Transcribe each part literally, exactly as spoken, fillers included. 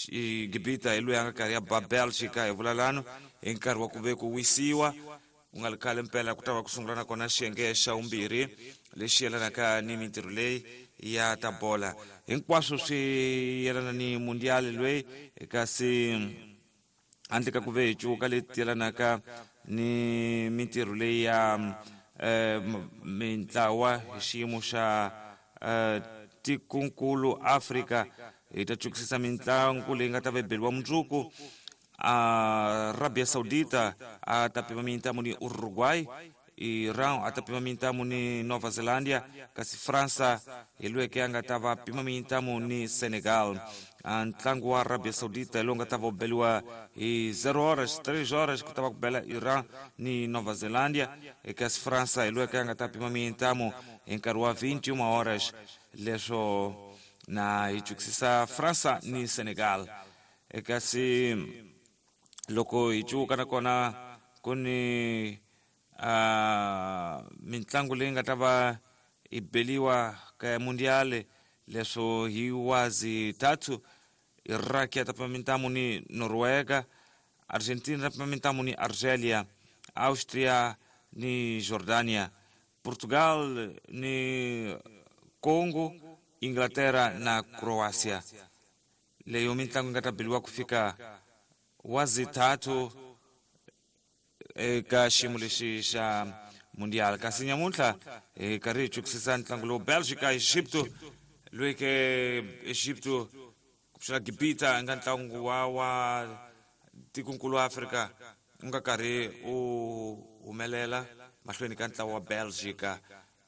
Gibita hi loyi a nga karhi ya ba Belgica hi vulalano hi nkarhi wa ku ve ku wisiwa ku nga ri khale mpela ku ta va ku sungula nakona xiyenge xa vumbirhi lexi yelanaka ni mintirho leyi ya ta bola hinkwaswo swi yelana ni mundial loyi kasi handle ka ku ve hi cuka leti yelanaka ni mintirho leyi ya eh, mintlawa hi xiyimo xa eh, tikunkulu Afrika hi ta cukisisa mitlangu leyi nga ta va beliwa mundzuku. Arabia Saudita a ta pima mintamu ni Uruguay, Iran a ta pima mintamu ni Nova Zelândia, kasi França hi loyi a nga ta va pima mintamu ni Senegal. Ntlangu wa Arabia Saudita hi lowu nga ta va u beliwa hi zero horas três horas ku ta va ku bela Iran ni Nova Zelândia, kasi França hi loyi a nga ta pima mintamu hi nkarhi wa vinte e uma horas. Leswo na hi cukisisa França ni Senegal. Kasi loko hi cuka nakona ku ni uh, mintlangu leyi nga ta va i beliwa ka mundial leswo hi wazi tatu Iraq ya ta pima mintamu ni Noruega, Argentina ta pima mintamu ni Argelia, Austria ni Jordania, Portugal ni Congo, Inglaterra na Croatia. Leyo mintlangu nga ta beliwa ku fika wazi tatu eka xiyimo lexi xa mundial. Kasi nyamuntlha hi karhi hi cukisisa ntlangu lowu Belgica Egipto loyi ke Egipto ku pfuxela Gibita nga ntlangu wa wa tikunkulu wa Afrika u nga karhi u humelela mahlweni ka ntlawa wa Belgica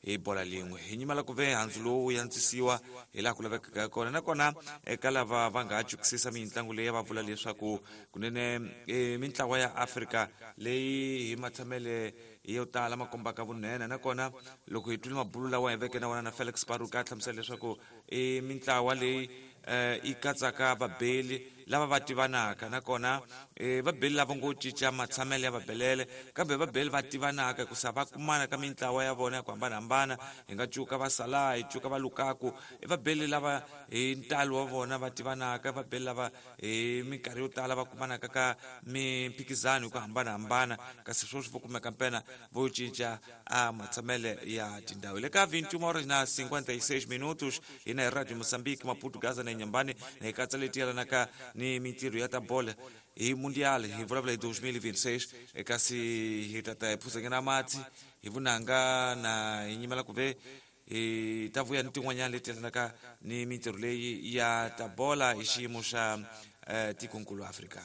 hi bola lin'we. Hi nyimela ku ve handzu lowu wu yantswisiwa hi laha ku lavekaka kona. Nakona eka lava va nga ha cukisisa mitlangu leyi va vula leswaku kunene e, mintlawa ya Afrika leyi hi matshamele yo tala ma kombaka vunene. Nakona loko hi twile mabulu lawa hi veke na wona na Felix Baruka a hlamusela leswaku i mintlawa leyi eh, yi katsaka vabeli lava va tivanaka, nakona eh, vabeli lava ngo cinca matshamelo ya vabelele kambe vabeli va tivanaka hikusa va kumana ka mintlawa ya vona ya ku hambanahambana. Hi nga cuka va Salah, hi cuka va Lukaku, i vabeli lava hi ntalo wa vona va tivanaka, vabeli lava hi minkarhi yo tala va kumanaka ka mimphikizano hi ku hambanahambana, kasi sweswi vo kumeka mpena vo cinca a matshamele ya tindhawu. Hi le ka vinte e uma horas na cinquenta e seis minutos hina hi Radio Moçambique, Maputo, Gaza na Inhambane, na hi katsa leti yelanaka ni mintirho ya ta bola hi mundial hi vulavula hi dois mil e vinte e seis, kasi hi ta ta hi phuzanyana mati hi vunanga na hi nyimela ku ve hi ta vuya ni tin'wanyana leti yelanaka ni mintirho leyi ya ta bola hi xiyimo xa eh, tikonkulu Afrika.